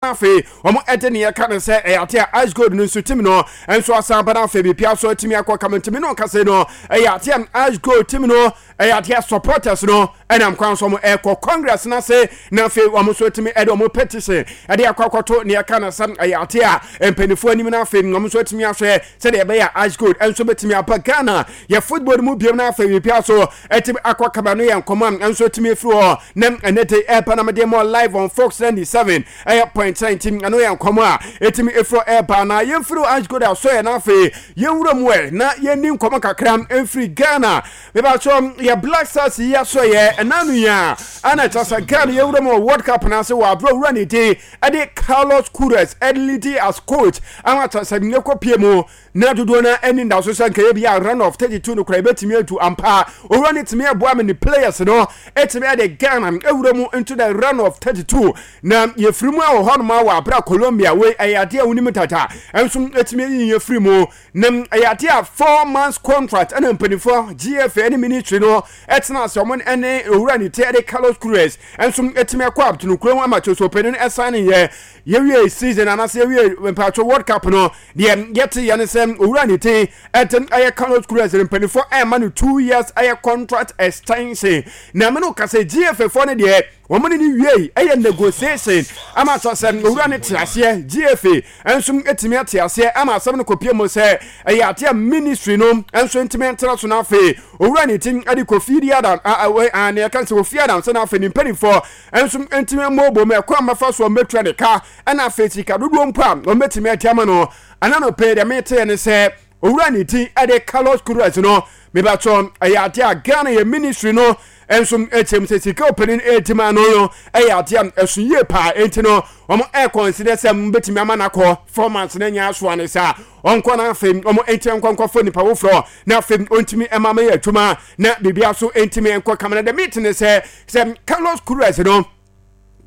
Afei wɔn de neɛ ɛka no sɛ ɛyɛ ate a Ice Gold no nso tim no nso asan ba no. Afei biribiara nso atumi akɔ kama. Ntumi no nkasa no, ɛyɛ ate a Ice Gold tim no, ɛyɛ ate a supporters no ɛnam kwan so wɔn ɛkɔ congress no ase, na afei wɔn nso atumi ɛde wɔn petition ɛde akɔ akɔto neɛ ɛka no sɛ ɛyɛ ate a mpanimfoɔ anim, na afei wɔn nso atumi ahwɛ sɛdeɛ ɛbɛyɛ a Ice Gold nso bɛtumi aba Ghana yɛ football mu biom, na afei biribiara so ɛtumi akɔ kama. No yɛ nkɔmɔ a nso atumi afiri hɔ na ɛnɛ de ɛba na mede mɔ live on Fox 97 ɛyɛ point 19. Ɛno yɛ nkɔmɔ a ɛtumi ɛfiri ɛba na yɛmfiri Ash Gold asɔyɛ, na afei yɛnwura mu ɛ na yɛnni nkɔmɔ kakra mfiri Ghana. Mebakyɛ yɛ Black Stars yi asɔyɛ ɛna no yi a ana kyerɛ sɛ Ghana yɛwura mu wɔ World Cup no ase wɔ aberɛ wura ne din ɛde Carlos Queiroz ɛde as coach ama kyerɛ sɛ yɛkɔpie mu na dodoɔ no ani nda so sɛ nka yɛ bi a round of 32 no kora yɛbɛtumi atu ampa. Owura no tumi ɛboa me ne players no ɛtumi ɛde Ghana ɛwura mu into the round of 32, na yɛfiri mu a wɔ hɔnom a wɔ abera Colombia. Wei ɛyɛ adeɛ a wonim tata ɛnso ɛtumi ayi yɛfiri mu, na ɛyɛ adeɛ a 4 months contract ɛna mpanimfoɔ GFA ne ministry no ɛtena ase, ɔmo ɛne owura ne ti ɛde Carlos Queiroz ɛnso ɛtumi ɛkɔ abtono kurom ama kyerɛ sɛ ɔpanin ɛsan ne yɛ yɛwie season anaasɛ yɛwie mpatwo World Cup no. Deɛ yɛte yɛ ne sɛ owura ne ti ɛte ɛyɛ Carlos Queiroz, mpanimfoɔ ɛma no 2 years ɛyɛ contract extension, na ɛmɛ no kasa GFA foɔ no deɛ wɔn ne ne wie ɛyɛ negotiation ama sɛ owura ne te aseɛ, GFA nso etumi ate aseɛ ama asɛm no kɔpie mu sɛ ɛyɛ adeɛ ministry no nso ntumi ntena so. Na afei owura ne ti ɛde Kofi di Adam a ne ɛka sɛ Kofi Adam sɛ na afei ne mpanimfoɔ nso ntumi mmɔbɔ mu ɛkɔ a mɛfa so ɔmɛtua ne ka, ɛna afei sika dodoɔ mpo a ɔmɛtumi adi ama no. Ɛna no pɛɛ deɛ meteɛ ne sɛ owura ne ti ɛde Carlos Queiroz no, mebatɔ ɛyɛ adeɛ a Ghana yɛ ministry no nso ɛkyɛm sɛ sika ɔpanin ɛredi ma no ɛyɛ adeɛ a ɛso yie paa, enti no wɔn ɛreconsider sɛ mbɛtumi ama n'akɔ 4 months na nyɛ asoa ne saa ɔnkɔ, na afei wɔn nkyɛn nkɔnkɔfo nipa foforɔ, na afei ɔntumi ɛma mɛyɛ adwuma na biribi aso ntumi nkɔ kama. Na dɛm it ne sɛ Carlos Queiroz no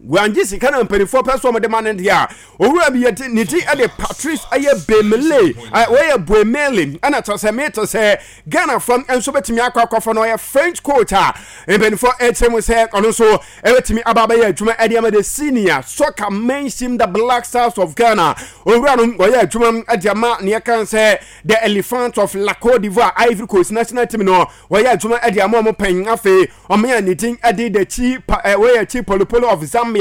wangye sika na mpanimfoɔ pɛ so ɔmode ma no deɛ a, owura bi yɛde ne din de Patrice ɛyɛ Bemele, wɔyɛ Buemele, ɛna kyerɛ sɛ mete sɛ Ghanafoɔ nso bɛtumi akɔ akɔfɔ no. Ɔyɛ French coach a mpanimfoɔ ɛkyerɛ mu sɛ ɔno nso ɛbɛtumi aba abɛyɛ adwuma ɛde ama the senior soccer men's team, the Black Stars of Ghana. Owura no ɔyɛ adwuma ɛde ama neɛ kan sɛ the Elephant of La Cote d'Ivoire, Ivory Coast national team no, wɔyɛ adwuma ɛde ama ɔmo pɛn. Afei ɔmo yɛ ne din ɛde the chi pa ɛ wɔyɛ Chipolopolo of Zambia,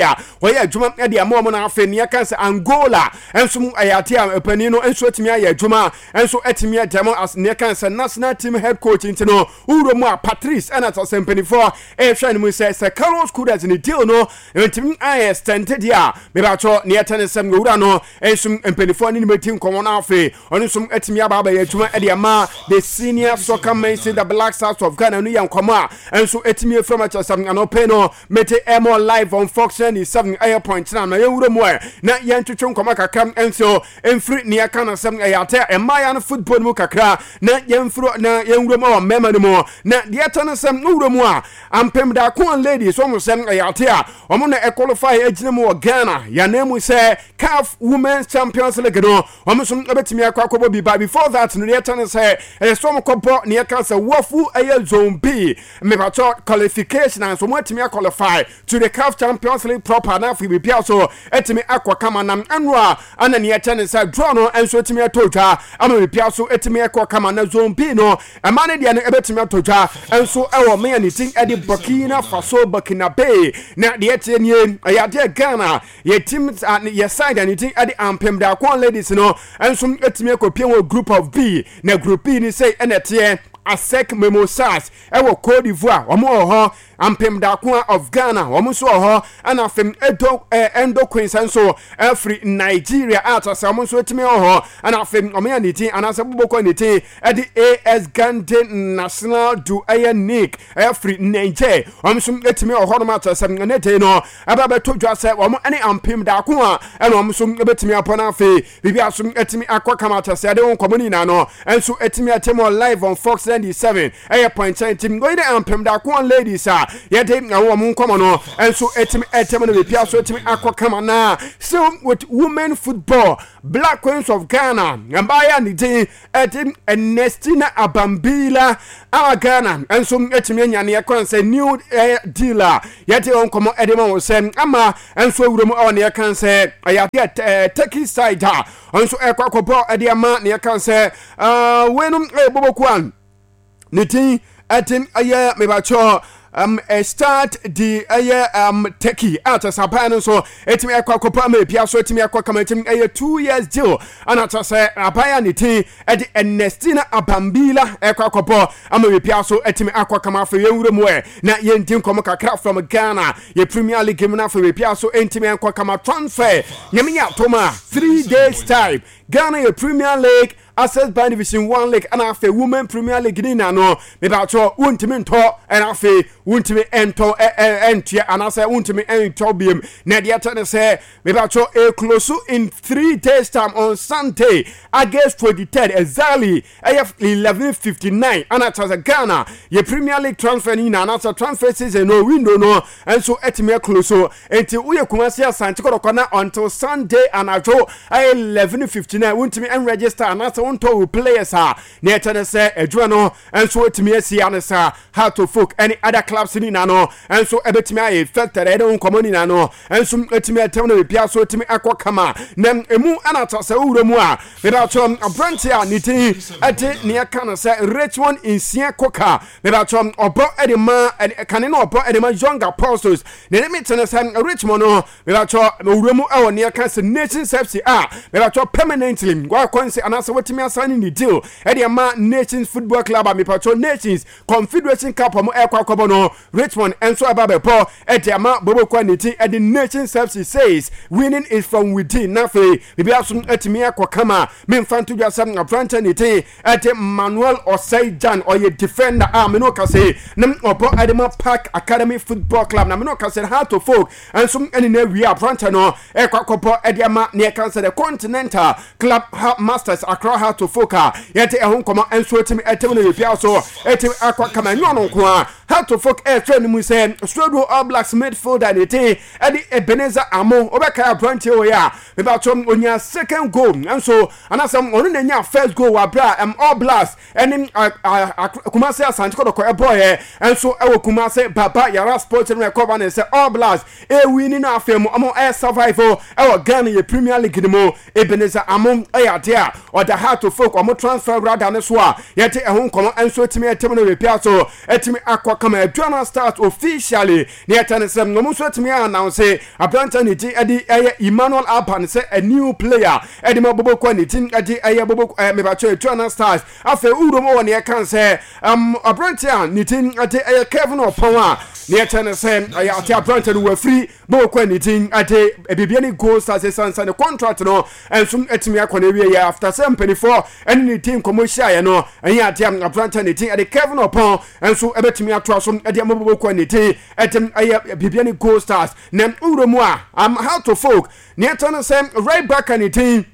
wɔyɛ adwuma ɛde ama ɔmo. Na afei neɛ kan sɛ Angola nso ɛyɛ ade a panin no nso atumi ayɛ adwuma nso atumi ɛde ama as neɛ kan sɛ national team head coach. Nti no wuro mu a Patrice ɛna sɛ mpanimfoɔ ɛrehwɛ no mu sɛ Carlos Queiroz ne deal no ntumi ayɛ extend deɛ a, mebatɔ neɛ ɛtɛ ne sɛm owura no nso mpanimfoɔ ne ne mɛdi nkɔmmɔ no, afei ɔno nso atumi aba abɛyɛ adwuma ɛde ama the senior soccer men, the Black Stars of Ghana. No yɛ nkɔmmɔ a nso atumi afira mu akyerɛ sɛ anɔpɛ no mete ɛmɔ live on Fox 97 ɛyɛ point na yɛwura mu ɛ na yɛntwetwe nkɔmmɔ kakra nso mfiri nea ka no sɛm ɛyɛ atɛ mmaayɛ no football mu kakra, na yɛmfiri na yɛnwura mu wɔ mmarima no mu. Na deɛ ɛtɔ no sɛm wowura mu a Ampem Darkoa Ladies, wɔn sɛm ɛyɛ ate a wɔn na ɛqualify agyina mu wɔ Ghana yɛn mu sɛ CAF Women's Champions League no, wɔn nso bɛtumi akɔ akɔbɔ bi. But before that no, deɛ ɛtɔ no sɛ ɛyɛ sɛ wɔn kɔbɔ neɛ ka sɛ WAFU ɛyɛ zone B mepatɔ qualification and so wɔn atumi aqualify to the CAF Champions League proper, na afei biribiara so atumi akɔ kama. Nam ɛno a ana neɛ ɛkyɛ ne sɛ draw no nso atumi atɔ dwa ama biribiara so atumi akɔ kama. Na zone B no, ɛma no deɛ no ɛbɛtumi atɔ dwa nso ɛwɔ mmea ne din ɛde Burkina Faso, Burkina Bay. Na deɛ ɛteɛ nie, ɛyɛ adeɛ Ghana yɛ team yɛ side a ne din ɛde Ampem Darkoa Ladies no nso atumi akɔpie wɔ group of B. Na group B ni sɛ ɛna ɛteɛ: ASEC Mimosas ɛwɔ Cote d'Ivoire, wɔn wɔ hɔ; Ampem Darkoa of Ghana, wɔn nso wɔ hɔ; ɛna afei Edo Endo Queens nso ɛfiri Nigeria a kyerɛ sɛ wɔn nso atumi wɔ hɔ; ɛna afei wɔn yɛ ne din anaasɛ bobokɔ ne din ɛde AS Garde National du ɛyɛ Nick ɛfiri Niger, wɔn nso atumi wɔ hɔnom a kyerɛ sɛ ɛne de no ɛbɛ bɛto dwa sɛ wɔn ne Ampem Darkoa ɛna wɔn nso bɛtumi abɔ no. Afei biribi aso atumi akɔ kama kyerɛ sɛ ɛde wɔn nkɔmɔ no nyinaa no nso atumi akyɛ mu live on Fox. 97 ɛyɛ point nti wei ne Ampem Darkoa Ladies a yɛde wɔn nkɔmɔ no nso ɛtumi ɛtɛm no bepia so ɛtumi akɔ kama. Na still with women football, Black Queens of Ghana mbaayɛ a ne din ɛde Ernestina Abambila a Ghana nso ɛtumi anya neɛ kwan sɛ new deal a yɛde wɔn nkɔmɔ ɛde ma wɔn sɛ ama nso awura mu ɛwɔ neɛ kan sɛ ɛyɛ adeɛ Turkey side a nso ɛkɔ akɔbɔ ɛde ama neɛ kan sɛ weinom ɛyɛ bɔbɔkuo a ne din ɛde ɛyɛ mebakyɛ start di ɛyɛ Turkey a kyɛ sɛ aban no nso ɛtumi ɛkɔ akɔpɔ ama ebia so ɛtumi ɛkɔ kama. Ɛtumi ɛyɛ 2 years deal ana kyɛ sɛ aban a ne din ɛde Ernestina Abambila ɛkɔ akɔpɔ ama ebia so ɛtumi akɔ kama. Afei yɛnwura mu ɛ na yɛndi nkɔmɔ kakra from Ghana yɛ Premier League mu. Na afei ebia so ɛntumi ɛnkɔ kama. Transfer, Nyame yɛ atom a, 3 days time Ghana yɛ Premier League, Access Bank Division One League ɛna afei Women Premier League ne nyinaa no, mebaatɔ wontumi ntɔ ɛna afei wontumi ntɔ ɛntua anaasɛ wontumi ntɔ biem. Na deɛ ɛtɛ ne sɛ mebaatɔ eclose in 3 days time on Sunday, August 23rd, exactly ɛyɛ 11:59 ɛna kyerɛ sɛ Ghana yɛ Premier League transfer ne nyinaa anaasɛ transfer season no window no nso ɛtumi aclose. Nti woyɛ Kumasi Asante Kɔtɔkɔ na until Sunday anadwo ɛyɛ 11:59 wontumi nregister anaasɛ wontɔ wo players a, na ɛkyɛ ne sɛ adwuma no nso ɛtumi asi ane sa. Hearts of Oak ɛne other clubs ne nyinaa no nso ɛbɛtumi ayɛ affected. Ɛde wo nkɔmmɔ ne nyinaa no nso ɛtumi ɛtɛm no biribiara so ɛtumi akɔ kama. Na emu ɛna kyerɛ sɛ wowura mu a, mebakyɛ aberante a ne din ɛde neɛ ka no sɛ Richmond Nsia Koka, mebakyɛ ɔbɔ ɛde ma kane no, ɔbɔ ɛde ma Young Apostles. Na ne mete no sɛ Richmond no, mebakyɛ owura mu ɛwɔ neɛ ka sɛ Nations FC a mebakyɛ permanently wakɔ nse anaasɛ watumi asan ne deal ɛde ama Nations Football Club a mepakyɛ Nations Confederation Cup ɔmo ɛkɔ akɔbɔ no, Richmond nso ɛba bɛbɔ ɛde ama bobokɔ ne ti ɛde Nations FC says winning is from within. Na afei biribi aso atumi akɔ kama. Memfa nto dwa sɛ aberante ne ti ɛde Manuel Osei Jan, ɔyɛ defender a mene ɔkase ne ɔbɔ ɛde ma Park Academy Football Club. Na mene ɔkase Hearts of Oak nso ɛne no awie. Aberante no ɛkɔ akɔbɔ ɛde ama ne ɛka sɛ the Continental Club Masters Accra Hearts of Oak a yɛde ɛho nkɔmɔ nso atumi ɛtɛm no yɛpia so ɛtumi akɔ kama. Ɛnyɛ ɔno nko a, Hearts of Oak ɛhwɛ no mu sɛ Swedru All Blacks midfielder ne din ɛde Ebenezer Amo. Wobɛkae aberanteɛ wɔ yi a mebatɔ onya second goal nso anaasɛ ɔno na nya first goal wɔ abere a All Blacks ɛne Kumase Asante Kɔtɔkɔ ɛbɔɔyɛ nso ɛwɔ Kumase Baba Yara Sports no. Ɛkɔba ne sɛ All Blacks ɛwin no, afei mu ɔmo ɛyɛ survive ɛwɔ Ghana yɛ Premier League no mu. Ebenezer Amo ɛyɛ adeɛ a ɔda Hearts of Oak ɔmo transfer radar ne so a yɛde ɛho nkɔmɔ nso etumi ɛtɛm no wepia so ɛtumi akɔ kama. Aduana Stars officially ne yɛtɛ ne sɛ ɔmo nso etumi announce aberante ne din ɛde ɛyɛ Emmanuel Alban sɛ a new player ɛde ma boboko ne din ɛde ɛyɛ bobo mebatwɛ Aduana Stars. Afei wurom wɔ ne yɛka sɛ aberante a ne din ɛde ɛyɛ Kevin Ɔpɔn a ne yɛtɛ ne sɛ ɛyɛ ate aberante no wafiri boboko ne din ɛde Bibiani Gold Stars esansa ne contract no nso atumi akɔ no awie yɛ after sɛ mpanimfoɔ ɛne ne din nkɔmmɔ hyiaeɛ no. Ɛnyɛ adeɛ aberante ne din ɛde Kevin Ɔpɔn nso ɛbɛtumi atoa so ɛde ama boboko ne din ɛde ɛyɛ Bibiani Gold Stars. Na wura mu a Hearts of Oak ne ɛtɛ no sɛ right back ne din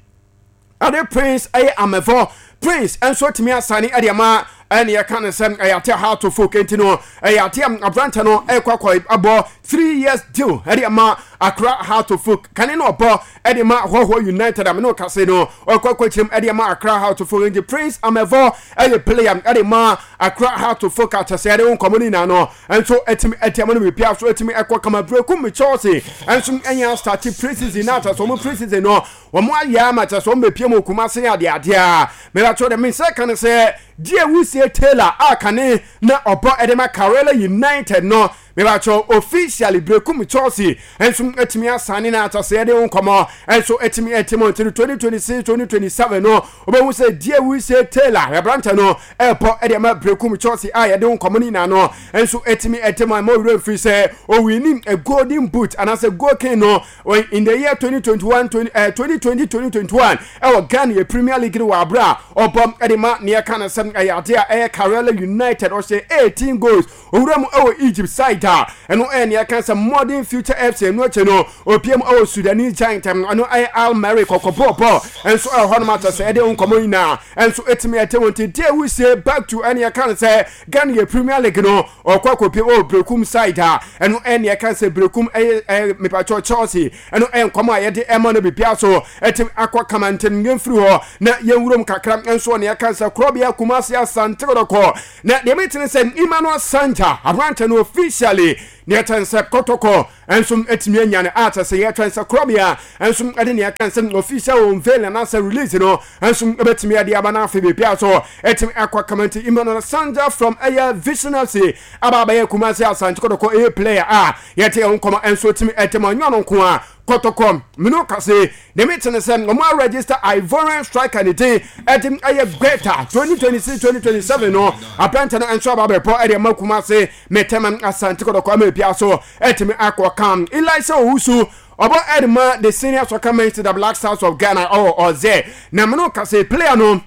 ɛde Prince ɛyɛ Amɛvɔ Prince nso atumi asane ɛde ama ɛne yɛka ne sɛ ɛyɛ ate Hearts of Oak. Nti no ɛyɛ ate aberante no ɛkɔ akɔ abɔ 3 years deal ɛde ama Accra Hearts of Oak. Kane no ɔbɔ ɛde ma Hɔhɔ United a mene ɔkase no ɔkɔ akɔ kyerɛm ɛde ama Accra Hearts of Oak. Nti Prince Amɛvɔ ɛyɛ player ɛde ma Accra Hearts of Oak akyɛ sɛ ɛde wo nkɔmmɔ no nyinaa no nso ɛtumi ɛde ama no biribiara so ɛtumi ɛkɔ kama. Berekum Chelsea nso ɛnyɛ start pre-season na akyɛ sɛ ɔmo pre-season no wɔn ayɛ ama kyɛ sɛ wɔn bɛpie mu Kumase adeadeɛ a mɛbɛtɔ dɛ mesɛ ka ne sɛ deɛ wusie Taylor a kane na ɔbɔ ɛde ma Karela United no, mɛbɛtɔ officially Berekum Chelsea nso atumi asane na akyɛ sɛ yɛde ho nkɔmmɔ nso atumi ɛte mu. Nti 2026 2027 no wobɛhu sɛ deɛ wusie Taylor aberantɛ no ɛbɔ ɛde ma Berekum Chelsea a yɛde ho nkɔmmɔ no nyinaa no nso atumi ɛte mu. A ma owurɛ mfiri sɛ owini a golden boot anaasɛ goal king no in the year 2021 20, 2020 2021 ɛwɔ Ghana yɛ Premier League no wɔ abere a ɔbɔ ɛde ma neɛ ka no sɛm ɛyɛ ade a ɛyɛ Karela United. Ɔhyɛ 18 goals. Owura mu ɛwɔ Egypt side. a ɛno ɛyɛ nea ɛka sɛ Modern Future FC. Ɛno akyi no opiem ɛwɔ Sudanese giant, ɛno ɛyɛ Al Merrikh kɔkɔbɔɔbɔ nso ɛwɔ hɔnom akyɛ sɛ ɛde nkɔmmɔ nyinaa nso ɛtumi ɛte wɔn ti deɛ wusie. Back to ɛne ɛka no sɛ Ghana yɛ Premier League no, ɔkɔ akɔpie wɔ Brekum side a ɛno ɛne ɛka sɛ Brekum ɛyɛ mepatwɔ Chelsea. Ɛno ɛyɛ nkɔmmɔ a yɛde ɛma no bibia so ɛtumi akɔ kama. Ntɛm yɛmfiri hɔ na yɛnwurom kakra nso ne ɛka sɛ korɔbea Kumase Asante Kɔtɔkɔ. Na deɛ metene sɛ Emmanuel Sanja aberantɛ no officially ne ɛkyɛn sɛ Kɔtɔkɔ nso atumi anya no a kyɛ sɛ yɛtwɛn sɛ korɔbea nso ɛde nea ɛka sɛ official unveil anaasɛ release no nso ɛbɛtumi ɛde aba no afei baabi so ɛtumi akɔ kama. Nti Emmanuel Sanja from ɛyɛ Vision FC aba abɛyɛ Kumase Asante Kɔtɔkɔ ɛyɛ player a yɛte ɛho nkɔmɔ nso tumi ɛtɛm ɔnyɛ ɔno nko a. Kɔtɔkɔ mene kase ne mete ne sɛ ɔmo aregister Ivorian striker ne din ɛde ɛyɛ Gbeta. 2026-2027 no aberante no nso aba abɛpɔ ɛde ama Kumase Metɛma Asante Kɔtɔkɔ ama ebia so ɛtumi akɔ kam. Elisa Owusu ɔbɔ ɛde ma the senior soccer man to the Black Stars of Ghana ɔwɔ ɔzɛ na mene kase player no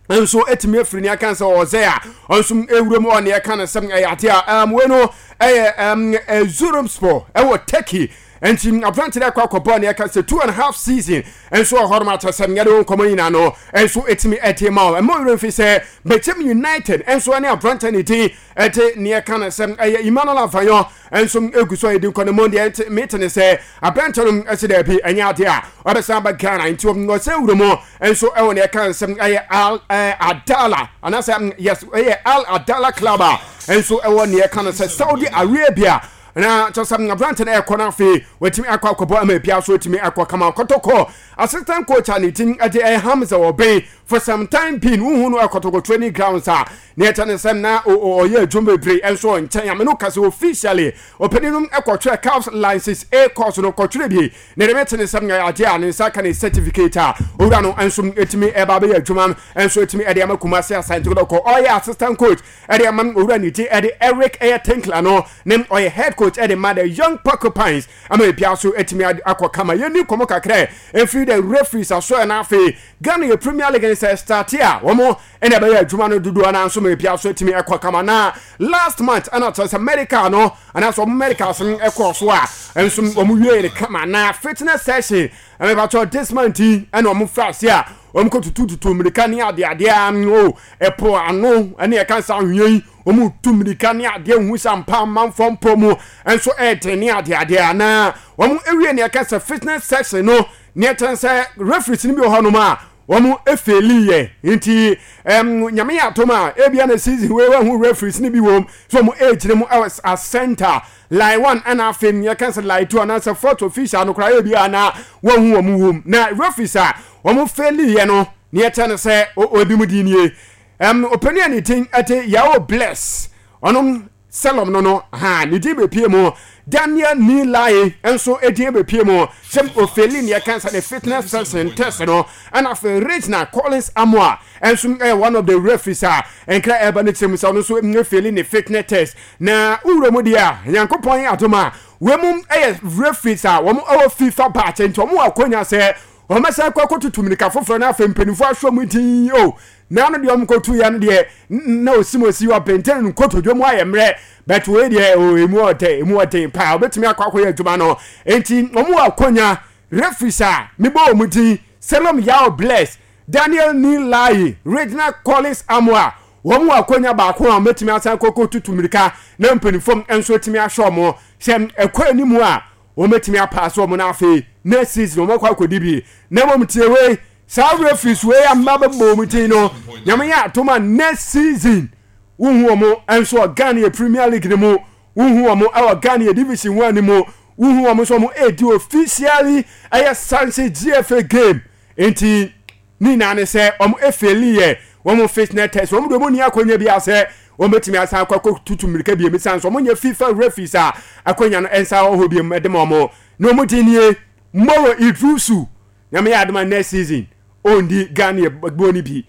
nso etumi afiri ne aka sɛ ɔzɛ a ɔnso ewura mu ɔne ɛka no sɛ ɛyɛ ate a wei no ɛyɛ Erzurumspor ɛwɔ Turkey. Nti aberante no akɔ akɔbɔ ne ɛka sɛ 2.5 season nso wɔ hɔnom akyɛ sɛ nyɛde wo nkɔmmɔ nyinaa no nso ɛtumi ɛde ma wo. Ɛma werɛ mfi sɛ Bɛkyɛm United nso ne aberante ne din ɛde ne ɛka no sɛ ɛyɛ Emmanuel Avanyo nso egu so a yɛdi nkɔ no mu. Deɛ nti mete ne sɛ aberante no ɛsɛ daabi, ɛnyɛ adeɛ a ɔbɛsan aba Ghana. Nti ɔsɛ wura mu nso ɛwɔ ne ɛka nsɛm ɛyɛ Al Adala anaasɛ, yes, ɛyɛ Al Adala club a nso ɛwɔ ne ɛka no sɛ Saudi Arabia. Na kyerɛ sɛ aberante no ɛkɔ no afei watumi akɔ akɔbɔ ama bia so atumi akɔ kama. Kɔtɔkɔ assistant coach a ne din ɛde ɛyɛ Hamza Ɔbɛn, for some time being wohu no ɛkɔtɔkɔ training grounds a ne ɛkyɛ ne sɛm na ɔyɛ adwuma bebree nso ɔnkyɛn ame no kasa. Officially ɔpanin no ɛkɔtwerɛ CAF License A course no kɔtwerɛ bi na ɛde mɛte ne nsɛm nyɛ adeɛ a ne nsa ka ne certificate a owura no nso ɛtumi ɛba bɛyɛ adwuma nso ɛtumi ɛde ama Kumase Asante Kɔtɔkɔ. Ɔyɛ assistant coach ɛde ama owura ne ti ɛde Eric ɛyɛ Tinkler no ne ɔyɛ head coach ɛde ma the Young Porcupines ama ebia so ɛtumi akɔ kama. Yɛni nkɔmɔ kakra ɛmfiri the referees aso. Ɛna afei Ghana yɛ Premier League sɛ start a wɔn ɛna ɛbɛyɛ adwuma no dodoɔ no nso ma ebia so ɛtumi ɛkɔ kama. Na last month ɛna kyerɛ sɛ medical no anaasɛ wɔn medicals no ɛkɔɔ so a nso wɔn wie ne kama. Na fitness session ɛmɛbatɔ this month yi ɛna wɔn fira ase a wɔn kɔ tutututu mmirika ne adeadeɛ o ɛpo ano ɛne ɛka nsa ahwea yi wɔn tu mmirika ne adeɛ hu sɛ mpa amanfoɔ mpɔ mu nso ɛɛden ne adeadeɛ. Anaa wɔn awie ne ɛka sɛ fitness session no ne ɛkyɛn sɛ referees no bi wɔ hɔnom a wɔn efail yɛ. Nti Nyame yɛ atom a ebia na season wei wɔn referees no bi wɔm so wɔn egyina mu ɛwɔ a center line one, ɛna afei yɛka sɛ line two anaasɛ fourth official no koraa ebia na wɔn ho wɔn wɔm. Na referees a wɔn fail yɛ no ne ɛkyɛn no sɛ obi mu di nie. Ɔpanin a ne din ɛde Yao Bless, ɔno Selom no ha ne din bepie mu. Daniel Nilai nso edin bepie mu sɛ ofail ne ɛka sɛ ne fitness session test no. Ɛna afei Regina Collins Amoa nso ɛyɛ one of the referees a nkra ɛba ne kyerɛ mu sɛ ɔno nso efail ne fitness test. Na wura mu deɛ a Nyankopɔn yɛ adom a wɔn mu ɛyɛ referees a wɔn ɛwɔ FIFA batch, nti wɔn wɔ akɔnya sɛ wɔn bɛsan kɔ akɔtutu mirika foforɔ. Na afei mpanimfoɔ ahwɛ mu din o na ano deɛ wɔn kɔtu ya no deɛ na osi mu osi ɔbɛntɛn no nkotodwe mu ayɛ mmerɛ bɛt wei deɛ o emu ɔdɛ emu ɔden paa obetumi akɔ akɔyɛ adwuma no. Nti wɔn wɔ akɔnya. Referees a mebɔ wɔn din, Selom Yao Bless, Daniel Nilai, Regina Collins Amoa, wɔn wɔ akɔnya baako a wɔbɛtumi asan kɔkɔ tutu mirika na mpanimfoɔ nso atumi ahwɛ wɔn sɛ ɛkɔ anim a wɔbɛtumi apaase wɔn. No afei next season wɔn akɔ akɔdi bi. Na mmom tie wei, saa referees wei a mma bɛbɔ wɔn din no, Nyame yɛ atom a next season wohu wɔn nso wɔ Ghana yɛ Premier League no mu, wohu wɔn wɔ Ghana yɛ Division 1 no mu, wohu wɔn nso wɔn edi officially ɛyɛ sanction GFA game. Nti ne nyinaa ne sɛ wɔn efail yɛ wɔn fitness test. Wɔn de wɔn ni akɔnya bi asɛ wɔn bɛtumi asan akɔ akɔ tutu mmirika bi emi san so wɔn nyɛ FIFA referees a akɔnya no nsa wɔ hɔ bi mu ɛde ma wɔn. Na wɔn di nie: Moro Idrusu, Nyame yɛ adoma next season ɔndi Ghana yɛ bɔ no bi.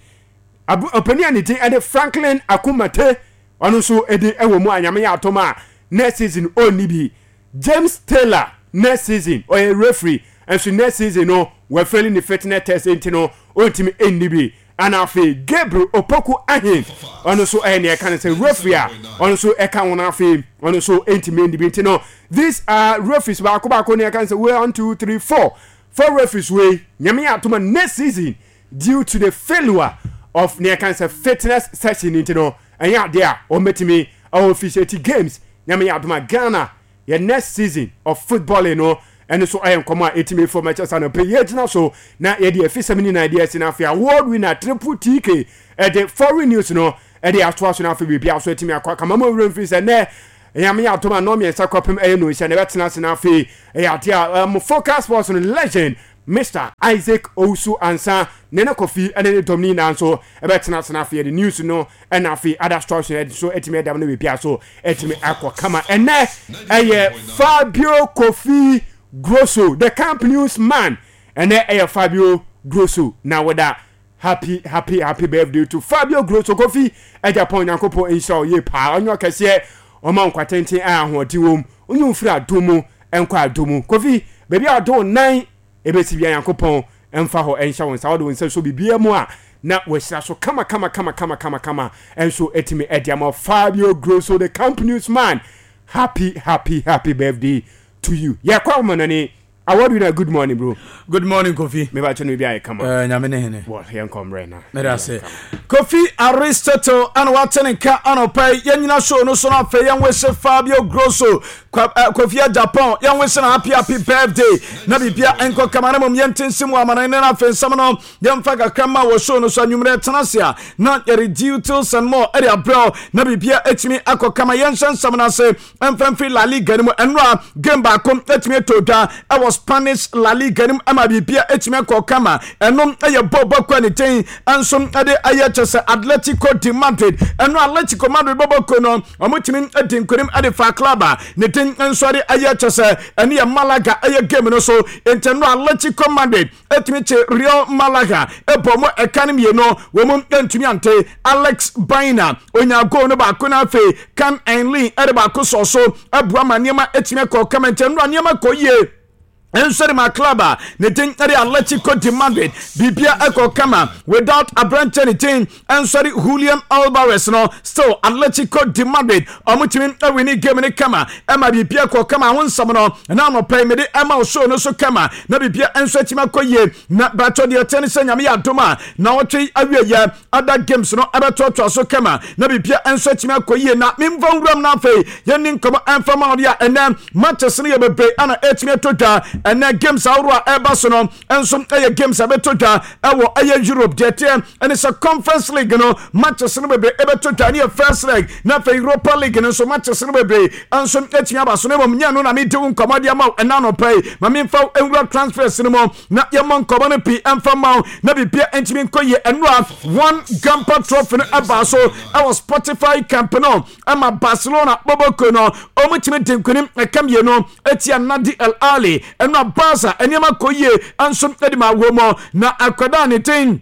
Ɔpanin a ne din ɛde Franklin Akumate, ɔno nso ɛdi ɛwɔ mu a Nyame yɛ atom a next season ɔnni bi. James Taylor, next season ɔyɛ referee nso next season no wɔfail ne fitness test nti no ɔntumi nni bi. Ɛna afei Gabriel Opoku Ahen, ɔno nso ɛyɛ nea ɛka no sɛ referee a ɔno nso ɛka ho no, afei ɔno nso ntumi ndi bi. Nti no these are referees baako baako nea ɛka no sɛ 1 2 3 4 4 referees wei Nyame yɛ atoma next season due to the failure of nea ɛka no sɛ fitness session nti no ɛnyɛ adeɛ a wɔn bɛtumi officiate games. Nyame yɛ adoma Ghana yɛ next season of footballing no, ɛno nso ɛyɛ nkɔmɔ a ɛtumi fam ɛkyɛ sa no pɛ yɛgyina so na yɛde afisɛm nyinaa ɛde asi no. Afei award winner Triple TK ɛde foreign news no ɛde atoa so no, afei biribi aso atumi akɔ akama ma owura mfiri sɛ nɛ Nyame yɛ adom a nnɔɔ 3 kɔpem ɛyɛ no nhyɛ na ɛbɛtena ase no. Afei ɛyɛ adeɛ a focus sports no legend Mr Isaac Owusu Ansa ne ne Kofi ɛne ne dɔm no nyinaa nso ɛbɛtena ase no. Afei yɛde news no ɛna afei other stories no ɛde so atumi ɛdam no biribi so atumi akɔ kama. Ɛnɛ ɛyɛ Fabio Kofi Grosso, the Camp News man. Ɛnɛ ɛyɛ Fabio Grosso na wɔda. Happy happy happy birthday to Fabio Grosso. Kofi Agyapong, Nyankopɔn nhyira wo yie paa, ɔnyɛ ɔkɛseɛ, ɔma nkwa tenten a ahoɔden wɔ mu, ɔnyɛ ofiri adom mu nkɔ adom mu. Kofi, baabi a ɔde wo nan ɛbɛsi bia, Nyankopɔn mfa hɔ ɛnhyɛ wo nsa, wode wo nsa so biribiara mu a na wahyira so kama kama kama kama kama kama ɛnso ɛtumi ɛde ama. Fabio Grosso, the Camp News man, happy happy happy birthday to you. Yɛkɔ ahoma no ni. Award winner, good morning, bro. Good morning, Kofi. Me ba chono bi aye kama. Eh, nyame ne hene. Well, yɛn kɔ mmerɛ na. Meda ase. Kofi Aristotle ana wate ne nka anɔpa yi. Yɛn nyina show no so no, afei yɛn wese Fabio Grosso, Kofi Japan, yɛn wese na happy happy birthday. Na bibia nkɔ kama na mom yɛnte nsim wɔ amana ne na afei nsɛm no yɛmfa kakra ma wɔ show no so anwummerɛ tena ase a na yɛde details and more ɛde abrɛw na bibia etumi akɔ kama. Yɛnhyɛ nsɛm no ase mfa mfiri La Liga no mu. Ɛnora game baako atumi atɔ dwa ɛwɔ Spanish La Liga no mu ama biribia atumi akɔ kama. Ɛno ɛyɛ bɔɔl bɔkɔ a ne din nso ɛde ɛyɛ kyɛ sɛ Atletico de Madrid. Ɛno Atletico Madrid bɔbɔko no, wɔtumi di nkonim ɛde fa club a ne din nso ɛde ɛyɛ kyɛ sɛ ɛne yɛ Malaga ɛyɛ game no so. Nti ɛno Atletico Madrid etumi kye Real Malaga ɛbɔ mu ɛka no 2, wɔn mu ntumi ante. Alex Baena onya goal no baako na afei Kan Enlin ɛde baako sɔ so ɛboa ma nneɛma etumi akɔ kama. Nkyɛn nora nneɛma kɔ yie nso de ma club a ne din de Atletico de Madrid. Biribia ɛkɔ kama without aberanteɛ ne din nso de Julian Alvarez no, still Atletico de Madrid ɔmo tumi awini game ne kama ɛma biribia kɔ kama. Ho nsɛm no na anɔpɛ yi mede ɛma wo show no so kama na biribia nso atumi akɔ yie. Na bɛtɔ deɛ ɛteɛ ne sɛ Nyame yɛ adom a na ɔtwe awieyɛ other games no ɛbɛtoatoa so kama na biribia nso atumi akɔ yie. Na memfa nwuram no, afei yɛnni nkɔmmɔ ɛmfa ma ɔde a ɛnɛ matches no yɛ bebree ana ɛtumi atɔ dwa. Ɛnɛ games ahorow a ɛba so no nso ɛyɛ games a ɛbɛtɔ dwa ɛwɔ ɛyɛ Europe. Deɛ teɛ ɛne sɛ Conference League no matches no bebree ɛbɛtɔ dwa ne yɛ first leg, na afei Europa League no nso matches no bebree nso atumi aba so. Na mmom nyɛ no na mede wo nkɔmmɔ de ama wo ɛna anɔpa yi. Ma memfa wo nwura transfers no mu na yɛmmɔ nkɔmmɔ no pii ɛmfa ma wo na biribia ntumi nkɔ yie. Ɛnora Joan Gamper Trophy no ɛbaa so ɛwɔ Spotify Camp no ɛma Barcelona bɔbɔko no ɔmo tumi di nkonim ɛka 2 etia Nadi El Ali. Ɛnora Barca nneɛma kɔ yie nso ɛde ma wɔ mu na akwadaa ne din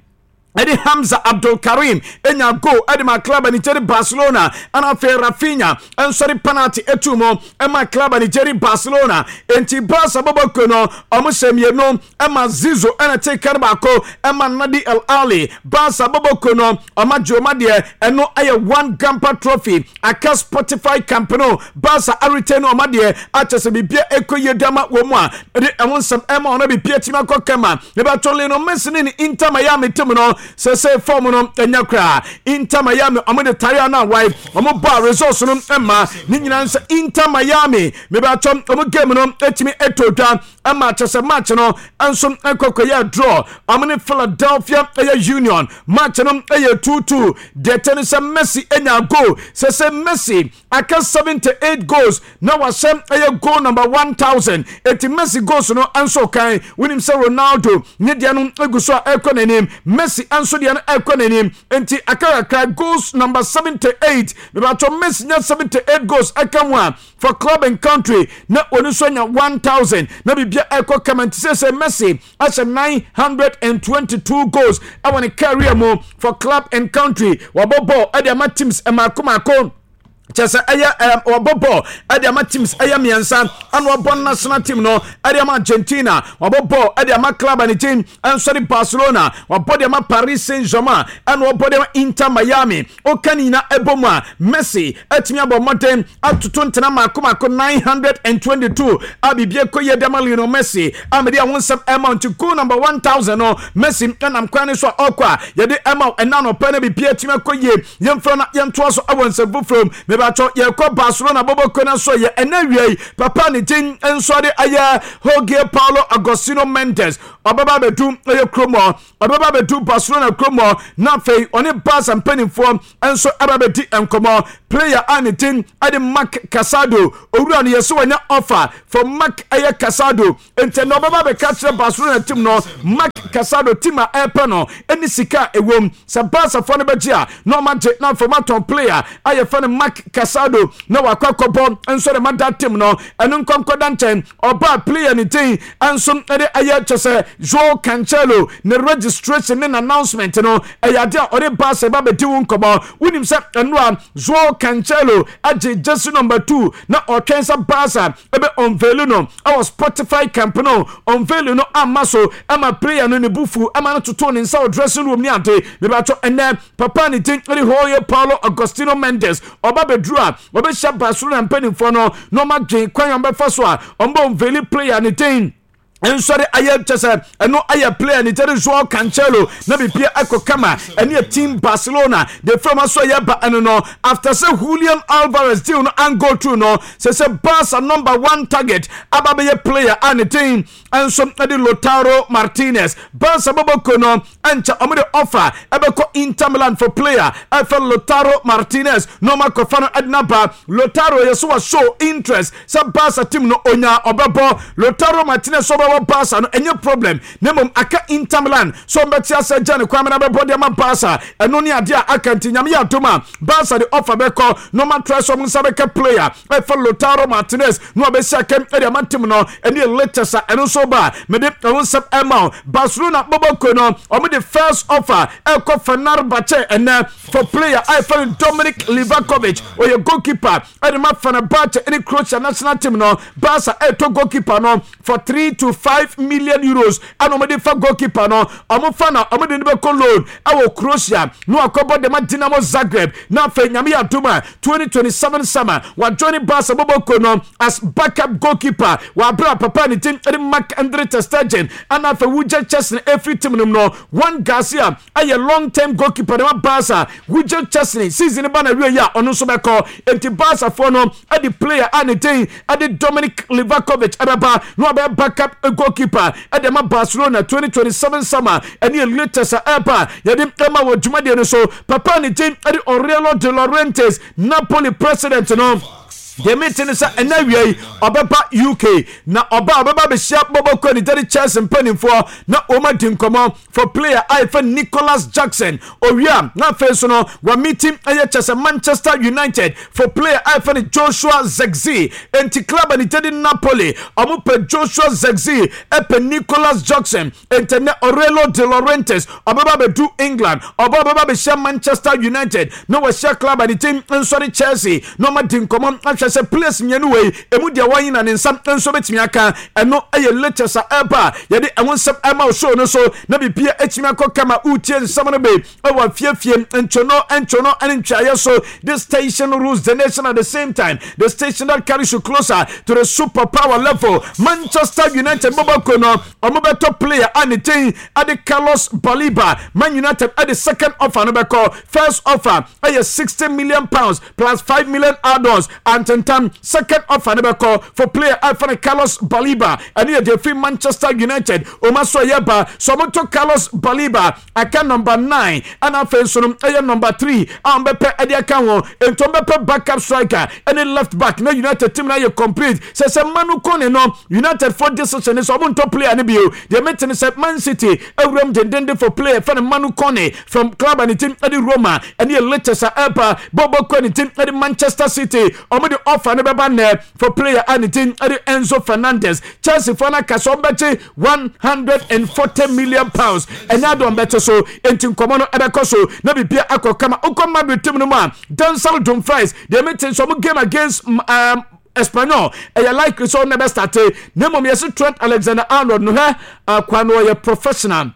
ɛde Hamza Abdulkarim enya goal ɛde ma club a Nigeria Barcelona, ɛna afei Rafinha nso de penalty etu mu ɛma club a Nigeria Barcelona. Nti Barca bɔbɔko no ɔmo hyɛ 2 ɛma Zizo ɛna te kar baako ɛma Nadi El Ali. Barca bɔbɔko no ɔma Joma deɛ, ɛno ɛyɛ Joan Gamper Trophy aka Spotify Camp no, Barca aretain no ɔma deɛ akyɛ sɛ biribia ɛkɔ yie dama wɔ mu a ɛde ɛho nsɛm ɛma ɔno biribia tumi akɔ kama. Ɛbɛtɔ Lionel Messi ne ne Inter Miami team no sɛ form no ɛnya koraa. Inter Miami ɔmo de tare ano awae, ɔmo bɔ a results no ɛma ne nyinaa sɛ Inter Miami mebɛtɔ ɔmo game no ɛtumi ɛtɔ dwa ɛma kyɛ sɛ match no nso ɛkɔkɔyɛ draw. Ɔmo ne Philadelphia ɛyɛ Union match no ɛyɛ 2-2. Deɛ kyɛ ne sɛ Messi anya goal sɛ Messi aka 78 goals na wahyɛ ɛyɛ goal number 1000. Eti Messi goals no nso kan, wonim sɛ Ronaldo ne deɛ no egu so a ɛkɔ n'anim, Messi nso deɛ no ɛkɔ n'anim. Nti aka kakra goals number 78. Mebatɔ Messi nya 78 goals ɛka ho a for club and country na wɔn nso anya 1000 na biribia ɛkɔ kama. Nti sɛ Messi ahyɛ 922 goals ɛwɔ ne career mu for club and country, wabɔ ball ɛde ama teams mmaako mmaako. Kyɛ sɛ ɛyɛ ɔbɔ bɔɔl ɛde ama teams ɛyɛ mmiɛnsa, ɛna ɔbɔ national team no ɛde ama Argentina, ɔbɔ bɔɔl ɛde ama club a ne team ɛnso de Barcelona, ɔbɔ de ama Paris Saint-Germain, ɛna ɔbɔ de ama Inter Miami. Ɔka ne nyinaa ɛbɔ mu a, Messi ɛtumi abɔ mmɔden atoto ntena mako mako 922 a biribi ɛkɔ yie de ama Lionel Messi a mede ɛho nsɛm ɛma. Nti goal number 1000 no, Messi ɛnam kwan no so a ɔkɔ a yɛde ɛma ɛna nɔpɛ no, biribi atumi akɔ yie. Yɛmfrɛ na yɛntoa so wɔ nsɛm foforɔ mu. Mebatɔ yɛkɔ Barcelona bɔbɔkuo no so yɛ ɛnɛ awia yi. Papa ne din nso de ayɛ Jorge Paulo Agostino Mendes. Ɔbɛba abɛdu ɛyɛ kurom hɔ, ɔbɛba abɛdu Barcelona kurom hɔ, na afei ɔne Barca mpanimfoɔ nso ɛba abɛdi nkɔmmɔ. Player a ne din ɛde Marc Casado, owura no yɛsɛ wɔnya offer for Marc ɛyɛ Casado, nti na ɔbɛba abɛka kyerɛ Barcelona team no. Marc Casado, team a ɛrepɛ no ɛne sika a ɛwom sɛ Barcafoɔ no bɛgye a na ɔma gye, na afei ɔmatɔn player a yɛfɛ no Marc Casado na wakɔ akɔbɔ nso de ma da team no. Ɛno nkɔnkɔda nkyɛn, ɔbaa player ne din nso de ɛyɛ kyɛ sɛ Joao Cancelo ne registration ne announcement no ɛyɛ ade a ɔde Barca ba bɛdi wo nkɔmmɔ. Wonim sɛ ɛno a Joao Cancelo agye jersey number 2 na ɔtwɛn sɛ Barca ebe unveil no ɛwɔ Spotify Camp No. Unveil no amma so ɛma player no ne bufu ɛma no toto ne nsa wɔ dressing room ne ade. Mebatɔ ɛnɛ papa ne din ɛde Jorge Paulo Agostino Mendes, ɔba bɛduru a ɔbɛhyia Barcelona mpanimfoɔ no na ɔma dwen kwan a ɔbɛfa so a ɔmbɔ unveil player ne din nsɔre ayɛ kyɛ sɛ ɛno ayɛ player ne tɛre Joao Cancelo na bibia ɛkɔ kama. Ɛne yɛ team Barcelona de fam aso yɛ ba ɛno no after sɛ Julian Alvarez deal no an go through no, sɛ Barca number one target aba bɛyɛ player a ne din nso ɛde Lautaro Martinez. Barca bɔbɔko no ɛnkyɛ ɔmo de offer ɛbɛkɔ Inter Milan for player ɛfɛ Lautaro Martinez na ɔmo akɔfa no ɛde naba. Lautaro yɛ so wa show interest sɛ Barca team no onya ɔbɛbɔ. Lautaro Martinez sɛ ɔbɛbɔ Barca no ɛnyɛ problem, na mmom aka Inter Milan sɛ ɔmbɛte asɛ gya ne kwan mena bɛbɔ de ama Barca. Ɛno ne adeɛ a aka, nti Nyame yɛ adom a Barca de offer bɛkɔ na ɔma try sɛ ɔmo nsa bɛka player ɛfɛ Lautaro Martinez na ɔbɛsi akɛm ɛde ama team no. Ɛne latest a ɛno nso ba mede ɛho nsɛm ɛma wo. Barcelona bɔbɔko no, ɔmo de first offer ɛkɔ Fenerbahce ɛnɛ for player a ɛfɛ no Dominic Livakovic. Ɔyɛ goalkeeper ɛde ma Fenerbahce ɛne Croatia national team no. Barca ɛtɔ goalkeeper no for €3 to 5 million ɛna ɔmo de fa goalkeeper no. Ɔmo fa na ɔmo de no bɛkɔ loan ɛwɔ Croatia na wakɔbɔ de ma Dinamo Zagreb, na afei Nyame yɛ adom a 2027 summer wajoin Barca bɔbɔko no as backup goalkeeper. Wabra papa ne team ɛde Marc Andre ter Stegen ɛna afei Wojciech Szczesny efiri team no mu no. Joan Garcia ɛyɛ long term goalkeeper de ma Barca. Wojciech Szczesny season ba na wie yi a ɔno nso bɛkɔ, nti Barca foɔ no ɛde player a ne din ɛde Dominic Livakovic ɛbɛba na ɔbɛyɛ backup goalkeeper ɛde ma Barcelona 2027 summer. Ɛne yɛ latest a ɛba yɛde ɛma wɔ dwumadie no so. Papa ne din ɛde Aurelio De Laurentiis, Napoli president no, deɛ mete ne sɛ ɛnɛ awia yi ɔbɛba UK, na ɔba ɔbɛba bɛhyia bɔbɔkɔ ne gyade Chelsea mpanimfoɔ na wɔn adi nkɔmmɔ for player a yɛfɛ Nicholas Jackson. Owia na afei nso no wɔ meeting ɛyɛ kyɛ sɛ Manchester United for player a yɛfɛ no Joshua Zirkzee. Enti club a ne gyade Napoli, ɔmo pɛ Joshua Zirkzee, ɛpɛ Nicholas Jackson. Enti ɛnɛ Aurelio De Laurentiis ɔbɛba abɛdu England, ɔba ɔbɛba abɛhyia Manchester United na wɔahyia club a ne team nso de Chelsea na ɔma di nkɔmmɔ ahwɛ sɛ players mmienu wei emu deɛ wɔn na ne nsa nso bɛtumi aka. Ɛno ɛyɛ latest a ɛba a yɛde ɛho nsɛm ɛma wo show no so na bibia ɛtumi akɔ kama. Wotie nsɛm no bi ɛwɔ afiefie ntwono ntwono ne ntwaeɛ so. This station rules the nation, at the same time the station that carries you closer to the superpower level. Manchester United bɔbɔko no, ɔmo bɛtɔ player a ne din ɛde Carlos Baleba. Man United ɛde second offer no bɛkɔ. First offer ɛyɛ £60 million plus 5 million add-ons antentam. Second offer no bɛkɔ for player ɛfɛ no Carlos Baleba. Ɛne yɛ deɛ fi Manchester United ɔma so ɛyɛ ba so ɔmo to Carlos Baleba aka number 9, ɛna afei nso no ɛyɛ number 3 a ɔmo bɛpɛ ɛde aka ho. Nti ɔmo bɛpɛ backup striker ɛne left back na United team na yɛ complete. Sɛ Manu Kone no, United for decision sɛ ɔmo ntɔ player no bio. Deɛ mete ne sɛ Man City awuram dendende for player fɛ no Manu Kone from club a ne team ɛde Roma. Ɛne yɛ latest a ɛba. Bɔbɔ kɔ ne team ɛde Manchester City, ɔmo de offer no bɛba nnɛ for player a ne din de Enzo Fernandez. Chelsea foɔ no aka sɛ wɔbɛgye 140 million pounds. Ɛnyɛ ade wɔbɛte so, enti nkɔmmɔ no ɛbɛkɔ so na biribia akɔ kama. Wokɔ Madrid team no mu a, Denzel Dumfries, deɛ mete nso wɔn game against um, Espanyol ɛyɛ likely sɛ ɔno na ɛbɛstarte, na mmom yɛse Trent Alexander-Arnold no hwɛ akwa no ɔyɛ professional.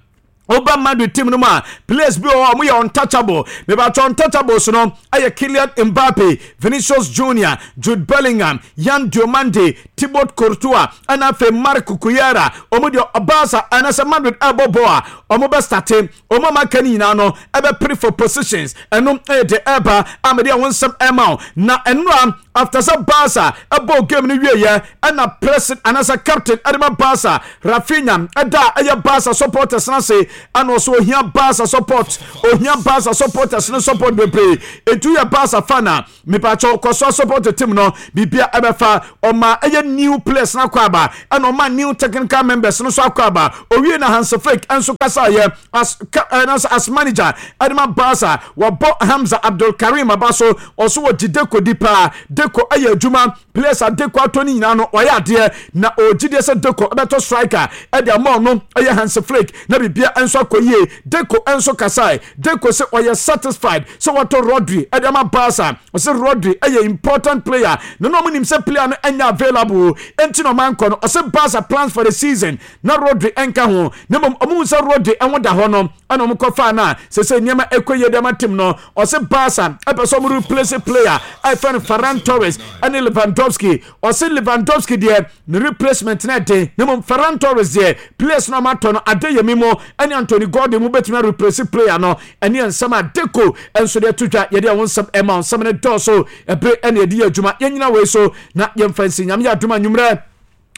Woba Madrid team no mu a, players bi wɔ hɔ a wɔyɛ untouchable. Mebatɔ untouchables no ɛyɛ Kylian Mbappe, Vinicius Junior, Jude Bellingham, Yan Diomande, Thibaut Courtois, ɛna afei Marc Cucurella. Wɔn deɛ Barca anaasɛ Madrid ɛbɔ bɔɔl a wɔn bɛ starte. Wɔn a maka no nyinaa no ɛbɛpere for positions. Ɛno ɛyɛ deɛ ɛreba a mede ɛho nsɛm ɛma wo. Na ɛnora after sɛ Barca ɛbɔɔ game no wieɛ ɛna president anaasɛ captain ɛde ma Barca Raphinha ɛda a ɛyɛ Barca supporters no ase ɛna ɔsɛ ohia Barca support, ohia Barca supporters no support bebree. Etu yɛ Barca fan a, mepatwɔ kɔ so support team no, biribia ɛbɛfa. Ɔma ɛyɛ new players no akɔ aba ɛna ɔma new technical members no so akɔ aba. Owie na Hansi Flick nso kasaeɛ as ɛna as manager ɛde ma Barca. Wɔbɔ Hamza Abdul Karim aba so, ɔso wɔgye Deco di paa. Deco ɛyɛ adwuma, players a Deco atɔ no nyinaa no ɔyɛ adeɛ, na ɔgye deɛ sɛ Deco ɛbɛtɔ striker ɛde ama ɔno ɛyɛ Hansi Flick na biribia nso akɔ yie. Deco nso kasae, Deco sɛ ɔyɛ satisfied sɛ wɔatɔ Rodri ɛde ama Barca. Ɔsɛ Rodri ɛyɛ important player na na ɔmo nim sɛ player no ɛnyɛ available enti na ɔmo ankɔ no. Ɔsɛ Barca plans for the season na Rodri ɛnka ho, na mmom ɔmo hu sɛ Rodri ɛho da hɔ no ɛna ɔmo kɔfaa no a sɛ nneɛma ɛkɔ yie de ama team no. Ɔsɛ Barca ɛpɛ sɛ ɔmo replace player a ɛfɛ no Ferran Torres ɛne Lewandowski. Ɔsɛ Lewandowski deɛ ne replacement no ɛden, na mmom Ferran Torres deɛ players no ɔmo atɔ no Adeyemi mo ɛne Anthony Gordon mo bɛtumi replace player no. Ɛne nsɛm a Deco nso de ato dwa. Yɛde ɛho nsɛm ɛma nsɛm no dɔɔso ɛbere ɛne yɛde yɛ adwuma. Yɛnyina wei so na yɛmfa nsi. Nyame yɛ adom anwummerɛ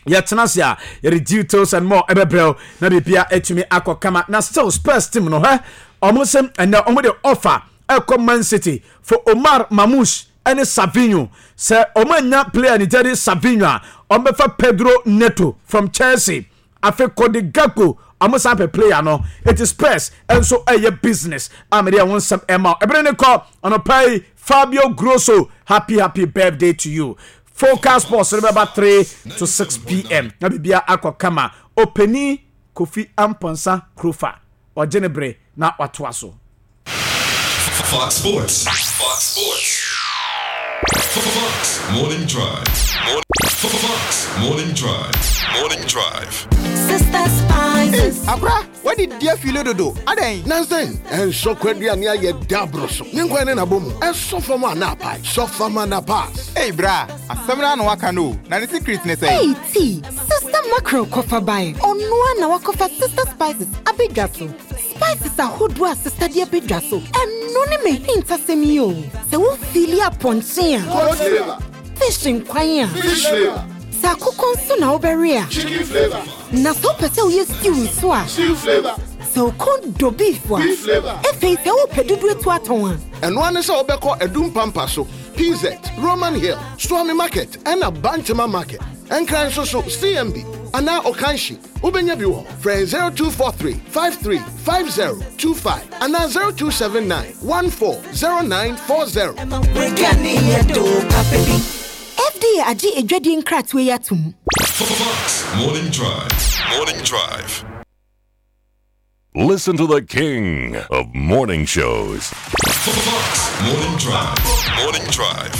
yɛtena ase a yɛde details and more ɛbɛbrɛw na biribia atumi akɔ kama. Na still Spurs team no hɛ ɔmo sɛ ɛnɛ ɔmo de offer ɛkɔ Man City for Omar Marmoush ɛne Savinho. Sɛ ɔmo anya player ne gyɛde Savinho a, ɔmo bɛfa Pedro Neto from Chelsea. Afei Cody Gakpo ɔmo san pɛ player no. Eti Spurs nso ɛyɛ business a mede ɛho nsɛm ɛma ɛbere ne kɔ ɔnɔpa yi. Fabio Grosso, happy happy birthday to you. Focus Sports no bɛba 3 to 6 pm na biribia akɔ kama. Ɔpani Kofi Amponsah Krofa ɔgye ne bere na watoa so. Fox Sports. Fox Sports. Fox Morning Drive. Fox Morning Drive. Morning Drive. Sister Spices. Akora, wadi di afile dodo. Adɛn? Nansen, ɛnsɔ kwaduane ayɛ daboro so. Ne nkwan ne n'abɔ mu. Ɛsɔ fam a na apae. Sɔ fam a na pass. Ei bra, asɛm no ano waka no o. Na ne secret ne sɛn? Ei tea, Sister Mackerel kɔfa bae. Ɔno na wakɔfa Sister Spices abɛdwa so. Spices ahodoɔ a Sister de abɛdwa so. Ɛno ne me hintasɛm yi o. Sɛ wofili apɔnkye a, Goat flavor. Fish nkwan a, Fish flavor. Sɛ akokɔ nso na wobɛwe a, Chicken flavor. Na sɛ wopɛ sɛ woyɛ stew nso a, Stew flavor. Sɛ wokɔn dɔ beef a, Beef flavor. Afei sɛ wopɛ dodo etu atɔn a, Ɛno ara ne sɛ wobɛkɔ Adum Pampa so, PZ, Roman Hill, Suame Market ɛna Bantama Market. Ɛnkran nso so CMB anaa Okanshi. Wobɛnya bi wɔ frɛ 0243 53 5025 anaa 0279 140940. FDA agye adwadie nkratoɔ yi atom. Fox Morning Drive. Morning Drive. Listen to the king of morning shows. Fox Morning Drive. Morning Drive.